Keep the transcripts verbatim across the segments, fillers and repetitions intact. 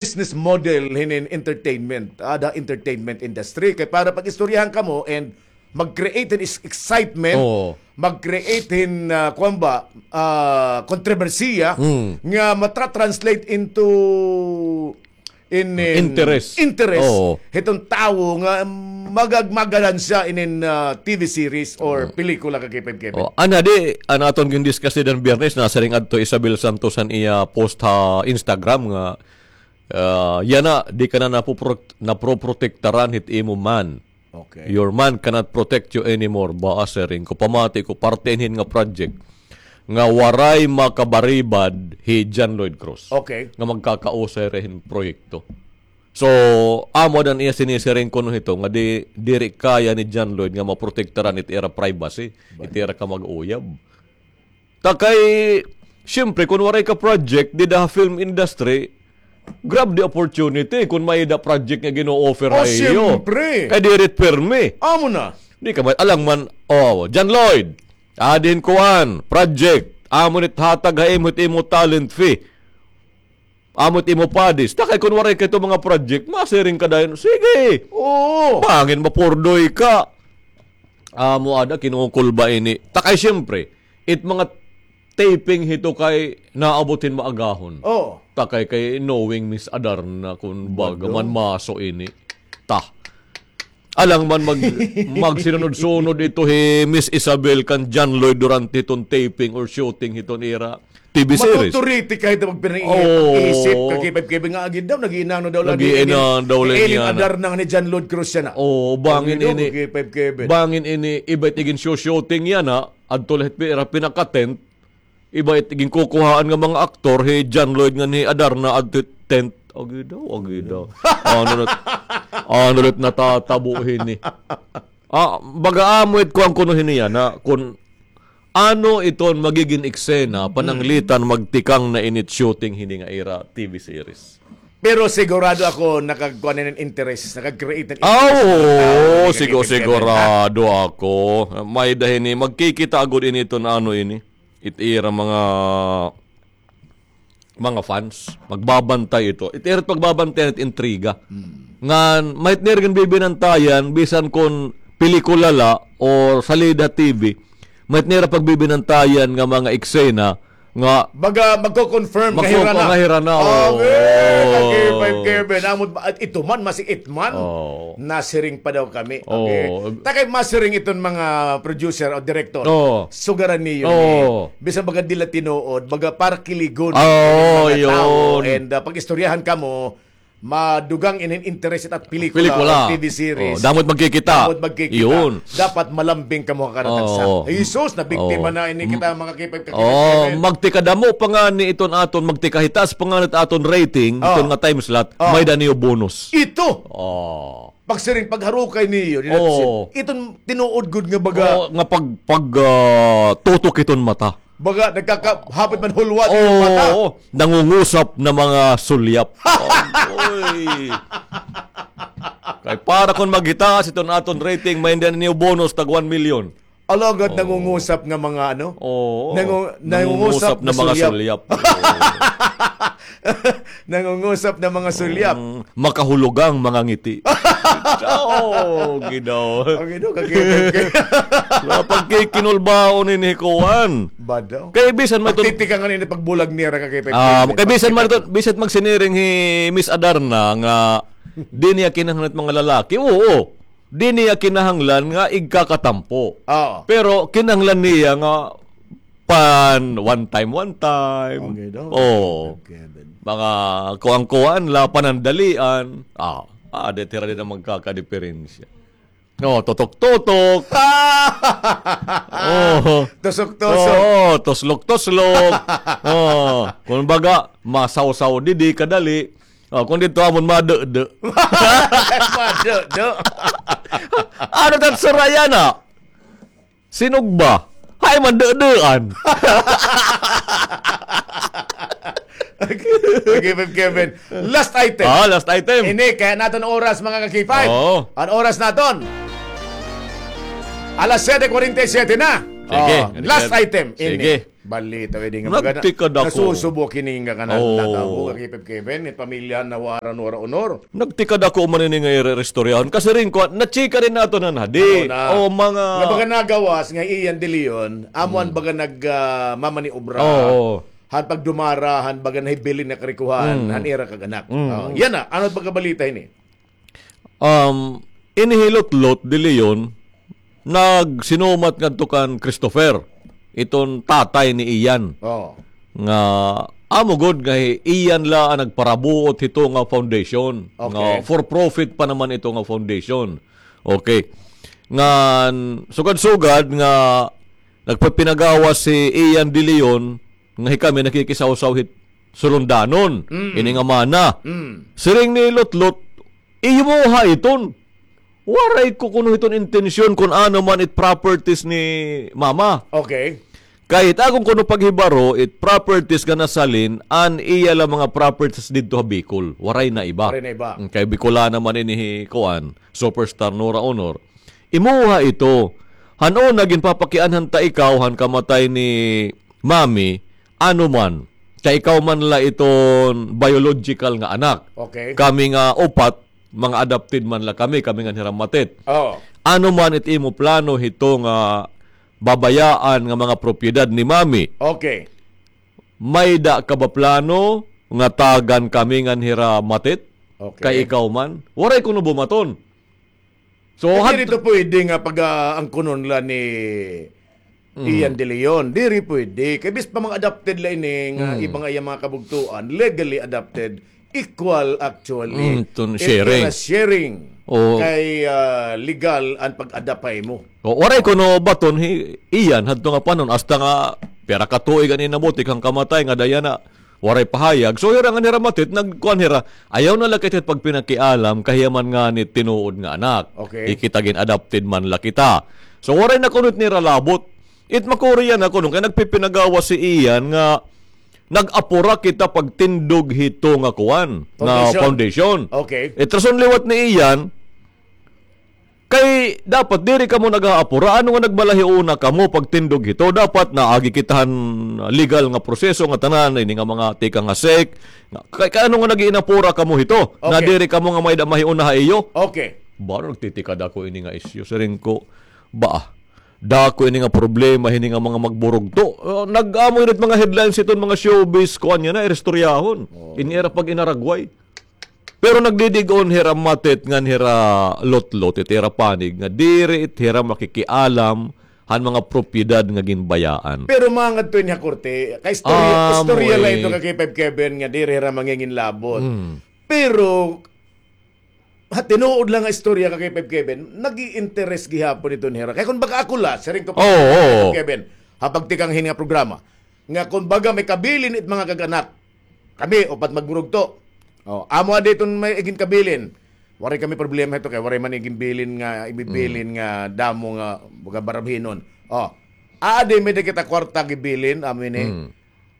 business model hinin entertainment, ah, the entertainment industry. Kay para pag-istoryahan kamo and mag-create hin is-, excitement, Oo. mag-create hin, ah, kuwan ba, ah, kontrobersiya Mm. nga matra-translate into in, in Interest. interest Oo. hiton tawo nga magag-, magaganansya inin, ah, T V series or pelikula ka K five Kevin. Oh, ana di, an aton gin-discuss dida han Biyernes, nasiring adto Isabel Santos han iya post ha Instagram nga, ah, yana, di ka na napopro-, naproprotektaran hit imo man. Okay. Your man cannot protect you anymore. Ba, siring ko, pamati ko, parte hin nga project nga waray makabaribad hi John Lloyd Cruz. Okay. Nga magkakausay hira hin proyekto. So, amo ada an iya sinisiring kuno hito nga di, diri kaya ni John Lloyd nga maprotektaran it ira privacy, it ira ka mag-uyab. Ta kay, siyempre, kun waray ka project dida ha film industry, grab the opportunity kun may-ada project nga gino-offer Oh, ha iyo. siyempre. Kay diri it pirmi. Amo na. Di ka man, alangan man, oh, John Lloyd, adi hin kuan, project, amo ni it hatag ha imo, it imo talent fee. Amo it imo padis. Ta kay kun waray ka hito mga project, masiring ka dayon. Sige. Oo. Bangin mapurdoy ka. Amo ada, kinukulba ini. Ta kay siyempre, it mga taping hito kay naabot hin maagahon. Oo. Ta kay, kay knowing Miss Adarna, kun baga Bado. man maso ini. Ta. Alangan man mag-, magsinunod-sunod ito hi Miss Isabel kan John Lloyd durante hiton taping or shooting hiton ira T V series. Matuturiti ka hito magpinangiisip Oo. ka K five Kevin nga agi daw, nag-iinano daw la Nag-iinano daw la Eileen niya na. Adarna nga ni John Lloyd Cruz yana. Oo, bangin Agi daw, ini. K five Kevin. Bangin ini, iba it igin-shooting yana, adto la hit ira pinaka-tent, iba it ginkukuhaan nga mga aktor, hi John Lloyd ngan hi Adarna adto hit tent. Agi daw, agi daw. Ano na, ano na natatabo hini? Ah, baga amo it kuan kuno hini yana, kun ano iton magigin eksena, pananglitan magtikang na ini it shooting hini nga ira T V series. Pero sigurado ako nakagkuan hin interest, nakag-create hin Ah, interest. oo, Tao, sigo-, nagkikipit-kipit na. sigurado ako. May-ada hini, magkikita agod ini iton ano ini. It ira mga, mga fans. Magbabantay ito. It ira it pagbabantay it intriga. Hmm. Ngan, may-ada nira ginbibinantayan, bisan kun pelikula la or salida T V, may-ada nira pagbibinantayan nga mga eksena nga Baga magko-confirm nga Magko-, hira na. nga hira na, oo. Okay, okay, five Kevin. Amo ba, at ito man, masi it man. Oo. Nasiring pa daw kami. Okay. Oo. Ta kay masiring iton mga producer o director. Oo. Sugaran niyo Oo. ni. Bisan baga dila tinuod, baga para kiligon Oo, mga tao. yun. And, ah, pag-istoryahan kamo, madugang inin interest at pelikula Pelikula. o T V series. Oh, damo it magkikita. Damo it magkikita. Yun. Dapat malambing kamo ha karatansa. Oo. Jesus, nabiktima Oo. na ini kita, mga K five ka-, Oh, K five. magtikadamo pa ngani iton aton, magtikahitaas pa ngani it aton rating, Oh. iton nga time slot, Oh. may-ada niyo bonus. Ito. Oh. Pagsiring, pagharukay niyo, ni Oo. Natsin. Iton tinuod gud nga baga. Oo, nga pag, pag, ah, tutok iton mata. Baga, nagkaka-, hapit man hulwa Oo, iton mata. oo. Nangungusap na mga sulyap. Oy. Kay para kon maghitaas iton aton rating, may-ada niyo bonus tag one million. Alagad Oo. nangungusap nga mga ano? Oo. Nangu-, Nangungusap nangungusap na na mga sulyap. sulyap. Oo. Nangungusap na mga sulyap. Mm, makahulugang mga ngiti. Oh, Ginoo. Ang Ginoo, kakipit, kakipit. Napagkikinulbaon ini kuan. Bado. Kay bisan man ito Pagtitikangan ini pagbulag niya, ra kakipit, Ah, kakipit, kay bisan man ito, kakipit. bisan magsiniring hi Miss Adarna nga di niya kinahanglan it mga lalaki. Oo. Di niya kinahanglan nga igkakatampo. Oo. Pero kinahanglan niya nga pan one time, one time. Okay daw. Oo. Okay, Ben. Mga kuan-kuan la, panandalian. Ah, ah, di tira din ang magkakadiperensya. Oh, tutok-tutok. Oh. Tusok-tusok. Oo, tuslok-tuslok. Oh, kumbaga, masawsaw didi kadali. Oh, kung dito amon madede. Madede. Ano tat suraya na? Sinugba. Hay, mandedaan. Okay, Kevin. Last item. Ah, last item. Ini, kaya naton oras, mga ka-K five. Oo. An oras naton. Alas siyete kwarenta y siyete na. Sige, Oh, last sige. item. Ini. Sige. Balita, pwede nga baga na-, Nagtikad ako. Nasusubok ini nga kanan Oo. natabo, Kakipip Kevin, it pamilya na waran wara honor. Nagtikad ako man ini nga ira-, istoryahon. Kasiring ko, na-chika din naton han hadi. Ano na? O, mga Nga baga nagawas nga Ian De Leon, amo an Mm. baga nag, ah, mamaniobra. Oo. Han pagdumara, han baga nahibilin na karikuhan, Mm. han ira kag anak. Mm. Oh, yana, ano it pagkabalita ini? Um, ini hi Lotlot De Leon, nagsinumat ngadto kan Christopher, iton tatay ni Ian. Oh. Nga, amo gud nga hi Ian la an nagparabuot hito nga foundation. Okay. Nga for profit pa naman ito nga foundation. Okay. Ngan, sugad-sugad nga nagpapinagawas si Ian De Leon, nga hikami nakikisawsaw hit sulundanon, Mm. ini nga mana. Mm. Siring ni Lotlot, "Imo ha iton. Waray ko kuno hiton intensyon kun ano man it properties ni mama." Okay. Kay it akon kuno paghibaro, it properties nga nasalin, an iya la mga properties didto ha Bicol. Waray na iba. Waray na iba. Mm, kay Bicolana man ini hi kuan, superstar Nora Honor. Imuha ito. Han una, ginpapakianhan ta ikaw, han kamatay ni Mami, ano man. Kay ikaw man la iton biological nga anak. Okay. Kami nga upat, mga adopted man la kami, kami ngan hira Matet. Oo. Ano man it imo plano hito nga babayaan nga mga propiedad ni Mami? Okay. May-ada ka ba plano nga tagan kami ngan hira Matet? Okay. Kay ikaw man? Waray kuno bumaton. So, Eh, had- diri to pwede nga pag, ah, angkunon la ni Mm. Ian De Leon. Diri pwede. Kay bis pa mga adopted la ini nga Mm. iba nga iya mga kabugtuan, legally adopted, equal actually. Mm, tun-, If sharing. Kira sharing, Oo. kay, ah, legal an pag-adopt ha imo. O, waray kuno baton hi Ian, hadto nga panon, hasta nga pira ka tuig an inabuti kan kamatay nga daya na. Waray pahayag. So, hira ngan hira Matet, nagkuan hira, ayaw na la kita pagpinakialam, kay hiya man ngani tinuod nga anak. Okay. Hi kita gin-adopted man la kita. So, waray na kuno it nira labot. It makuri yana kuno, kay nagpipinagawas si Ian nga nag-apura kita pagtindog hito nga kuan, nga Foundation. foundation. Okay. It rason liwat ni Ian, Kay dapat diri kamo nag-aapura. Ano nga nagbalahiuna kamo pagtindog hito? Dapat naagi kita han legal nga proseso nga tanan, ini nga mga tikang ha SEC. Nga, kay, kay ano nga nag-iinapura kamo hito? Na Okay. diri kamo nga may da-, mahiuna ha iyo? Okay. Baro nagtitikad ako ini nga isyu. Siring ko, ba, dako ini nga problema, hini nga mga magburugto. Uh, nag-amo ini mga headlines iton mga showbiz, kuan yana, ira istoryahon. Oo. Ini ira pag-inaragway. Pero nagdidig-on hira Matet ngan hira Lotlot, it ira panig nga diri it hira makikialam han mga propiedad nga ginbayaan. Pero mangadto ini ha korte, kay istorya, Amo istorya la eh. ito, Kakipip Kevin, nga diri hira manginginlabot. Mm. Pero, ha tinuod la nga istorya, Kakipip Kevin, nag-i-interes gihapon iton hira. Kay kun baga ako la, siring ko pa, Oo, oo. Kakipip Kevin, ha pagtikang hini nga programa, nga kun baga may kabilin it mga kag-anak, Kami, upat magburugto. O, amo adi iton may iginkabilin. Waray kami problema hito kay waray man iginbilin nga, ibibilin Mm. nga damo nga, baga, barabhinon. O, adi may-ada kita kwarta gibilin, amo ini. Mm.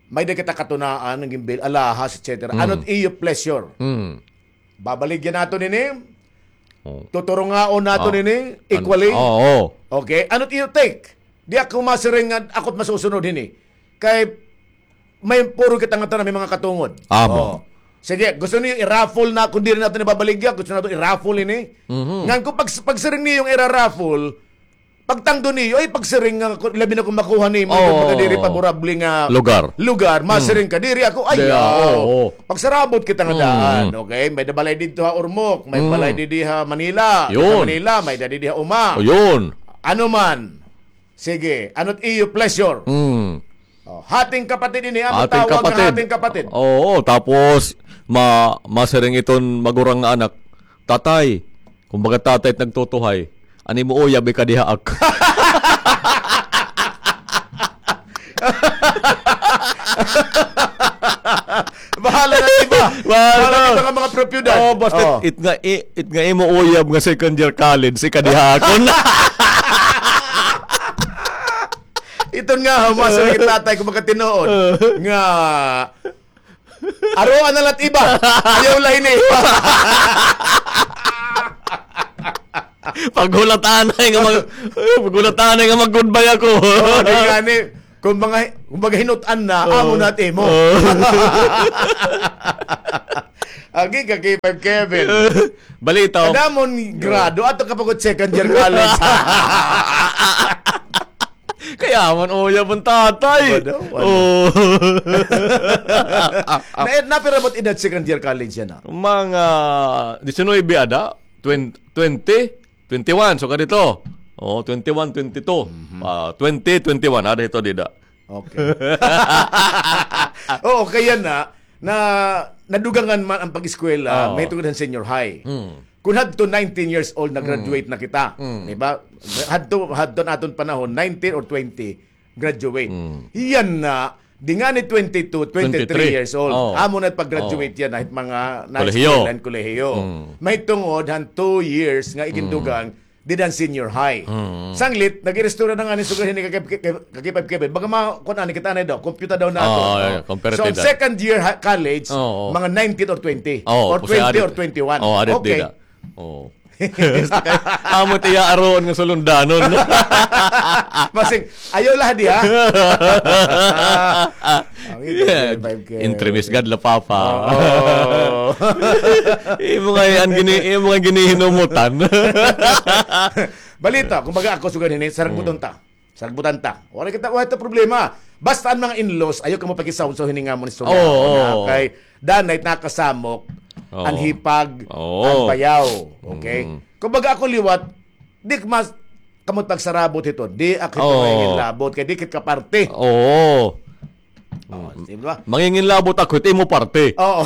May-ada kita katunaan nga ginbil-, alahas, et cetera. Mm. Ano't iyo pleasure? Mm. Babaligya naton ini? O. Tuturungaon naton Ah, ini an-, equally? Oo. Okay, ano't iyo take? Di ako masiring nga ako't masusunod hini. Kay may puro kita nga tanan, may mga katungod. Amo. O. Sige, gusto niyo i-raffle na, kun diri naton ibabaligya, gusto naton i-raffle ini. Mhm. Ngan kun pag-, pagsiring niyo nga ira-raffle, pagtangdo niyo, ay, pagsiring nga, kun, labi na kun makuha nimo, Oo. kun baga diri favorable nga Lugar. lugar, Mm. masiring ka, diri ako, Di, ayaw. oo. Pagsarabot kita nga Mm. daan, okay? May-ada balay didto ha Ormoc, may Mm. balay didi ha Manila, Yun. didto ha Manila, may-ada didi ha Uma. O, yun. Ano man. Sige, ano't iyo pleasure? Mm. O, hating kapatid ini, ano Hating tawag nga kapatid. hating kapatid? Oo, tapos ma-, masiring iton magurang nga anak, "Tatay," kumbaga tatay it nagtutuhay, "an imo uyab ikadihaak." Bahala na iba. Bahala Bahala na na. iba nga mga propiedad. Oh, basta Oh. it nga, i-, it nga imo uyab nga second year college, ikadihakon. Iton nga, ha, mas ang tatay ko magkatinuod. Nga, aroan na la't iba. Ayaw la ini. Paghulatanay nga mag-, paghulatanay nga mag-goodbye ako. Oh, di nga ni, kung mga, Kumbaga, hinut-an na, amo na it imo. Agi ka, K five Kevin. Balita. Kadamo hin grado, ato ka pa gud second year college. Kaya man, uyab an tatay. Wala, wala. Oo. Na, napira mo it edad second year college yana? Mga diecinuebe ada, twen-, twenty, twenty-one, so kadito. Oo, twenty-one, twenty-two. Mhm. Ah, twenty, twenty-one, ada ito, dida. Okay. Oo, kaya na, na, nadugangan man an pag-eskwela, mahitungod han senior high. Mm. Kon hadto nineteen years old, nag-graduate na kita. Mm. Di ba? Hadto, hadto an aton panahon, nineteen or twenty, graduate. Mm. Hiyan na, di ngani twenty-two, twenty-three years old. Twenty-three. Oo. Amo na pag-graduate yana, hit mga high school and kolehiyo. Mm. Mahitungod han two years nga igindugang, dida han senior high. Mm. Sanglit, nag-iristorya na ngani sugad hini ka K five Kevin. Baga ma-, kuan ani kita na daw, kompyuta daw naton. Oo, oo. Second year ha-, college, mga nineteen or twenty. Oo, or twenty or twenty-one. Oo, arit dida. Oo. Amo it iya aruon nga sulundanon. Masing, ayaw la di, ha? Ang ito, Yeah. twenty-five K. Entremis gad la, Papa. Oo. Imo nga yan, gini-, imo nga ginihinumutan. Balita, kumbaga ako sugad hini, saragbuton ta. Saragbutan ta. Wala kita, wala ta problema. Basta an mga in-laws, ayaw kamo pakisawnsaw hini nga amon istorya. Oo, oo. Kay danay nakasamok, an hipag, an bayaw. Okay? Mm. Kumbaga ako liwat, di mas, kamo pagsarabot hito. Di ako hito manginginlabot, kay di kita kaparte. Oo. Oh, di ba? Manginginlabot ako, hit imo parte. Oo.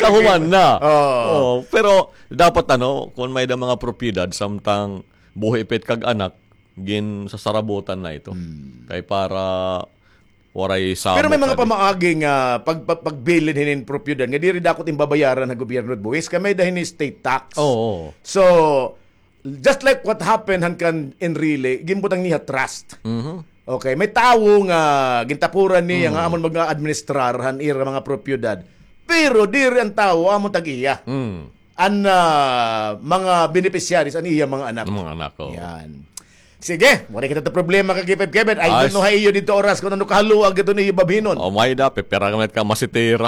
Kahuman na. Oo. Oo, pero dapat, ano, kon may-ada mga propiedad, samtang buhi pa it kag-anak, ginsasarabutan na ito. Hmm. Kay para waray samok. Pero may mga pamaagi nga pag-, pag-, pagbilin hinin propiedad nga diri dako it babayaran ha gobyerno it buhis, kay may-ada hini state tax. Oo. So, just like what happened han kan Enrile, ginbutang niya trust. Mhm. Okay, may tawo nga gintapuran niya nga amon mag-administrar han ira mga propiedad. Pero diri an tawo amo tag-iya. Mm. An, ah, mga beneficiaries, an iya mga anak. An mga anak, oo. Yan. Sige, waray kita ta problema kay K five Kevin. I don't know ha iyo didto oras kon ano kahaluag ito niyo babhinon. Oh, may-ada, pipira ka masitira.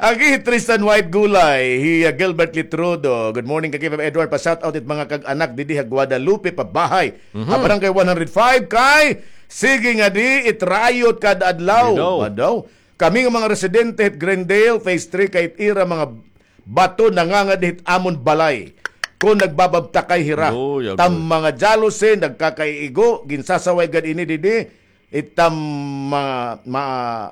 Agi, Tristan White Gulay, hi, uh, Gilbert Litrodo. Good morning, Kakipab Edward. Pa-shout out it mga kag-anak didi ha Guadalupe, Pabahay. Mhm. Ha Barangay one hundred five kay, sige nga di, it riot kada adlaw. Di daw. Ba daw? Kami nga mga residente hit Glendale, Phase three, kay it ira mga bato nangangadi hit amon balay. Kon nagbababtakay hira, tam mga jealousy, nagkakaiigo, ginsasaway gad ini didi, it tam ma-, ma-,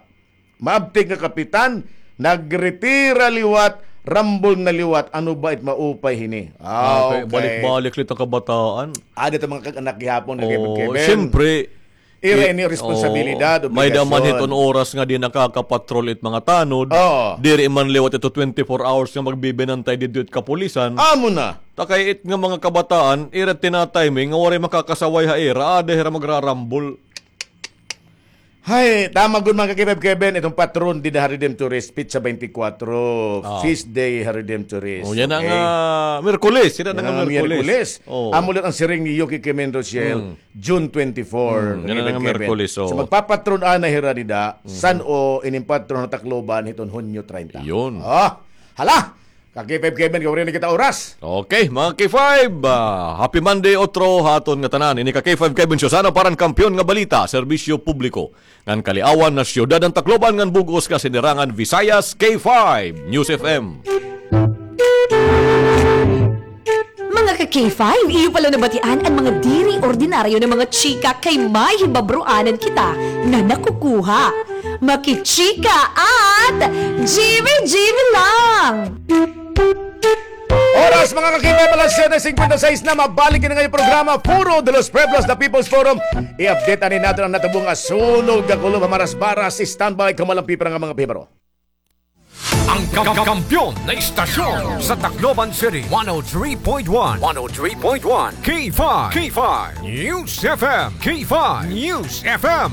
maabtik nga kapitan, nagretira liwat, rambol na liwat, ano ba it maupay hini? Ah, okay. Balik-balik la it kabataan. Ada it mga kag-anak gihapon, Kevin. Siyempre, ira ini responsabilidad, obligasyon. May-ada man hiton oras nga di nakakapatrol it mga tanod, diri man liwat ito twenty-four hours nga magbibinantay didto it kapulisan. Amo na. Ta kay it nga mga kabataan, ira tinatiming nga waray makakasaway ha ira, ada hira magrarambol. Hay, tama gud, mga Kakipab Kevin, iton patron dida ha Redemptorist, petsa twenty-four, feast day ha Redemptorist. Oh, yana nga Miyerkules, yana nga Miyerkules. Amo la an siring ni Yuki Kimen Rochelle, June twenty-four, yana nga Miyerkules. So, magpapatron anay hira dida, san-o, ining patron ha Tacloban, hiton Hunyo treinta. Yun. Ah, hala! Ka-K five Kevin, kay waray na kita oras. Okay, mga K five, ah, happy Monday, otro, ha aton ngatanan. Ini ka-K five Kevin Show, sana para han kampiyon nga balita, serbisyo publiko, ngan kaliawan na siyudad han Tacloban ngan bug-os nga sinirangan Visayas, K five News F M. Mga ka-K five, iyo pala nabatian an mga diri ordinaryo nga mga chika kay may hibabroanan kita nga nakukuha. Makichika at G B G B lang! Oras, mga ka-K five, alas siyete singkwenta y seis na. Mabalik ini nga programa, Foro de los Pueblos, The People's Forum. I-update anay naton an natabo nga sunog nga kulob ha Marasbaras. Standby, kamo lang pipira nga mga pahibaro. Ang ka-, kampiyon na istasyon sa Tacloban City, one oh three point one, one oh three point one, K five, K five News F M, K five News F M.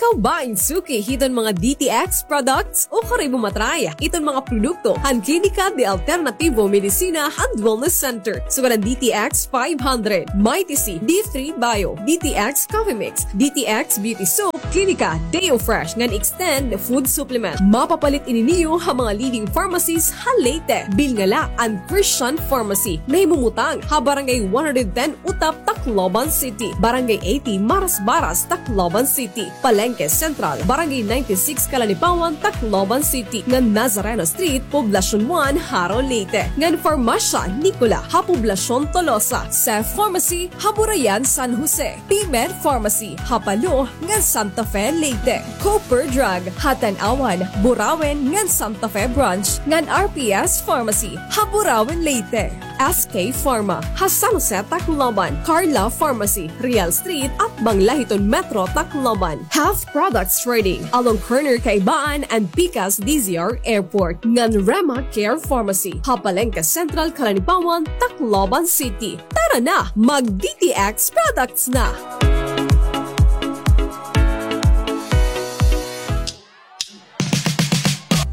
Ikaw ba in suki hiton mga D T X products? Ukari mo matry iton mga produkto han Klinika de Alternativo Medicina and Wellness Center. Sugad an D T X five hundred, Mighty C, D three Bio, D T X Coffee Mix, D T X Beauty Soap, Klinika Deo Fresh ngan Extend Food Supplement. Mapapalit ini niyo ha mga leading pharmacies ha Leyte. Bilnga la an Christian Pharmacy, nahimumutang ha Barangay one hundred ten Utap, Tacloban City, Barangay eighty Marasbaras, Tacloban City, Palengke Central, Barangay ninety-six Calanipawan, Tacloban City, ngan Nazareno Street, Poblacion one, Jaro, Leyte, ngan Farmasya Nicola ha Poblacion Tolosa, Cef Pharmacy ha Burayan, San Jose, P-Med Pharmacy ha Palo ngan Santa Fe, Leyte, Cooper Drug ha Tanauan, Burauen ngan Santa Fe Branch, ngan R P S Pharmacy ha Burauen, Leyte, S K Pharma ha San Jose, Tacloban, Carla Pharmacy, Real Street, atbang la hiton Metro Tacloban, Health Products Trading along corner Kaibaan and Pikas D Z R Airport, ngan Rema Care Pharmacy ha Palengke Central, Calanipawan, Tacloban City. Tara na, mag D T X products na!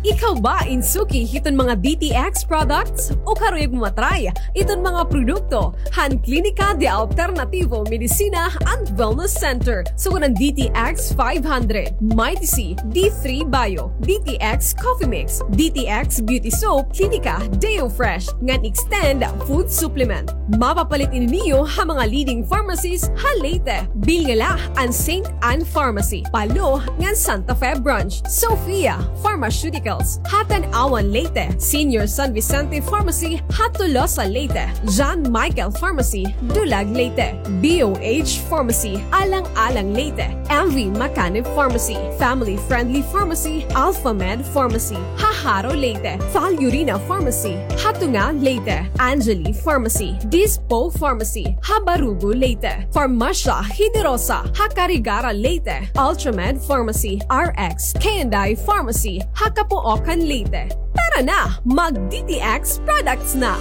Ikaw ba in suki hiton mga D T X products? Ukari mo matry iton mga produkto han Klinika de Alternativo Medicina and Wellness Center. Sugad an D T X five hundred, Mighty C, D three Bio, D T X Coffee Mix, D T X Beauty Soap, Klinika Deo Fresh, ngan Extend Food Supplement. Mapapalit ini niyo ha mga leading pharmacies ha Leyte. Bilnga la an Saint Ann Pharmacy, Palo, ngan Santa Fe Branch, Sophia Pharmaceuticals ha Tanauan, Leyte, Senior San Vicente Pharmacy ha Tolosa, Leyte, John Michael Pharmacy, Dulag, Leyte, B O H Pharmacy, Alang-alang, Leyte, M V Macanib Pharmacy, Family Friendly Pharmacy, Alpha Med Pharmacy ha Jaro, Leyte, Fal Urina Pharmacy ha Tunga, Leyte, Angeli Pharmacy, Dispo Pharmacy ha Barugo, Leyte, Farmasya Generosa ha Carigara, Leyte, Ultramed Pharmacy, R X K and I Pharmacy ha Capoocan, Leyte. Tara na, mag D T X products na!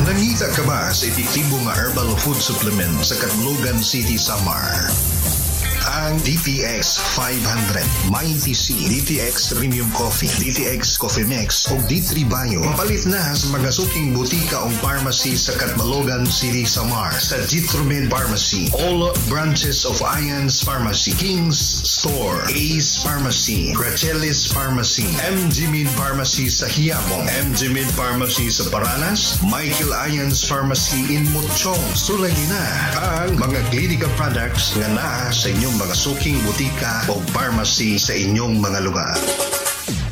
Nangita ka ba sa epektibo nga herbal food supplement sa Catbalogan City, Samar? Ang D T X five hundred, Mighty C, D T X Premium Coffee, D T X Coffee Mix, ug D three Bio. Mapalit na sa mga suking butika ug pharmacy sa Catbalogan City, Samar, sa Jitromed Pharmacy, all branches of Ian's Pharmacy, King's Store, Ace Pharmacy, Gracelis Pharmacy, M G Med Pharmacy sa Quiapo, M G Med Pharmacy sa Paranas, Michael Ian's Pharmacy in Mochong. Sulayi na ang mga Klinika products nga naa sa inyong mga suking butika o pharmacy sa inyong mga lugar.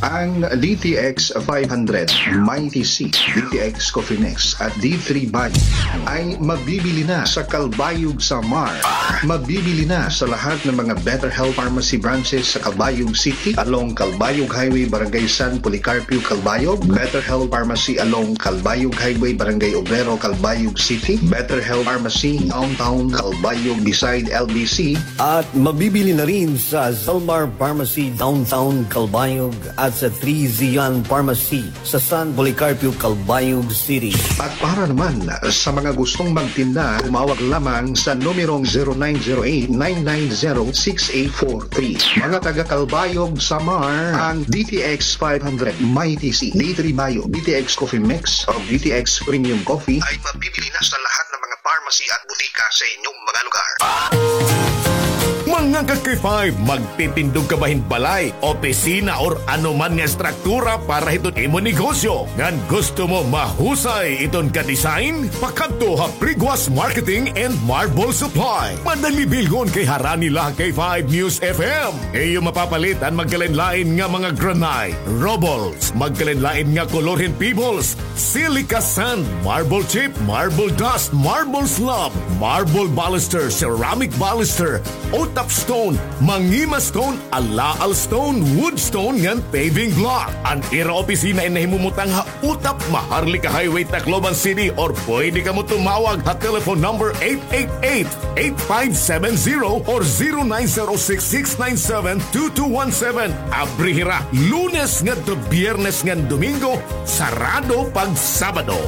Ang D T X five hundred, Mighty C, D T X Coffee Mix, at D three Bio ay mabibili na sa Calbayog, Samar. Mabibili na sa lahat ng mga Better Health Pharmacy branches sa Calbayog City, along Calbayog Highway, Barangay San Policarpio, Calbayog. Better Health Pharmacy along Calbayog Highway, Barangay Obrero, Calbayog City. Better Health Pharmacy, Downtown Calbayog, beside L B C. At mabibili na rin sa Zalmar Pharmacy, Downtown Calbayog, at sa Three Zion Pharmacy sa San Policarpio, Calbayog City. At para naman sa mga gustong magtinda, tumawag lamang sa numerong zero nine zero eight, nine nine zero, six eight four three. Mga taga Calbayog, Samar, ang D T X five hundred, Mighty C, D three Bio, D T X Coffee Mix, o D T X Premium Coffee ay mabibili na sa lahat ng mga pharmacy at butika sa inyong mga lugar. Mga ka-K five, magtitindog ka ba hin balay, opisina, or ano man nga estruktura para hiton imo negosyo? Ngan gusto mo mahusay iton ka-design? Pakadto ha Priguas Marketing and Marble Supply. Madali bilngon kay harani la ha K five News F M. Iyo mapapalit an magkalain-lain nga mga granite, rubbles, magkalain-lain nga kolor hin pebbles, silica sand, marble chip, marble dust, marble slab, marble baluster, ceramic baluster, Utap stone, Mangima stone, Alaal stone, wood stone, ngan paving block. An ira opisina in nahimumutang ha Utap, Maharlika Highway, Tacloban City, or pwede kamo tumawag ha telephone number eight eight eight, eight five seven zero or zero nine zero six, six nine seven, two two one seven. Abri hira Lunes ngadto Biyernes ngan Domingo, sarado pag Sabado.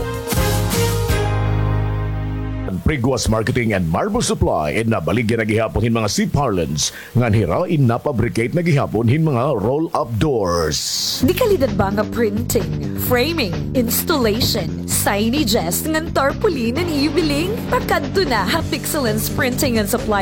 Riguas Marketing and Marble Supply, in nabaligya na gihapon hin mga C-parlance, ngan hira in napabricate na gihapon hin mga roll-up doors. Dekalidad ba nga printing, framing, installation, signages, ngan tarpaulin an ibiling? Pakadto na ha Pixelance Printing and Supply